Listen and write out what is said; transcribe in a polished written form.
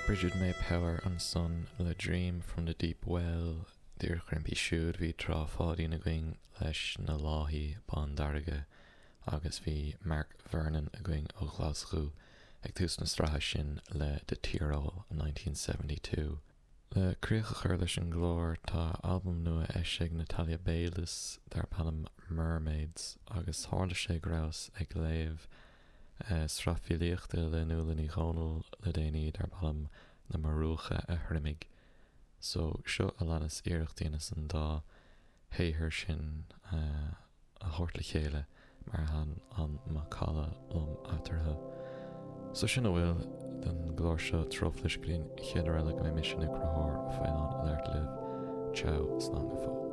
Brigid Mae Power ansan le Dream from the Deep Well. Díreach roimpi siúd bhí Trá Pháidín againn leis Na Láithí Bándearga agus bhí Mark Vernon againn ó Ghlaschú ag tús na sraithe sin le The Tyrol 1972. Le críoch a chur leis an gclár, tá albam nua eisithe ag Natalia Bailes darb ainm Mermaids agus tharla sé go rabhas ag léamh sraith filíochta le Nuala Ní Dhomhnaill le déanaí darb ainm Na Murúcha a Thriomaigh. So, seo a leanas iarracht a dheineas an dá shaothar sin a thabhairt le chéile mar thaitin an macalla liom eatarthu. So sin a bhfuil den gclár seo Truflais go dtí an chéad uair eile go mbeidh mise nó Conchúr Faoláin ag labhairt libh. Ciao, slán go fóill.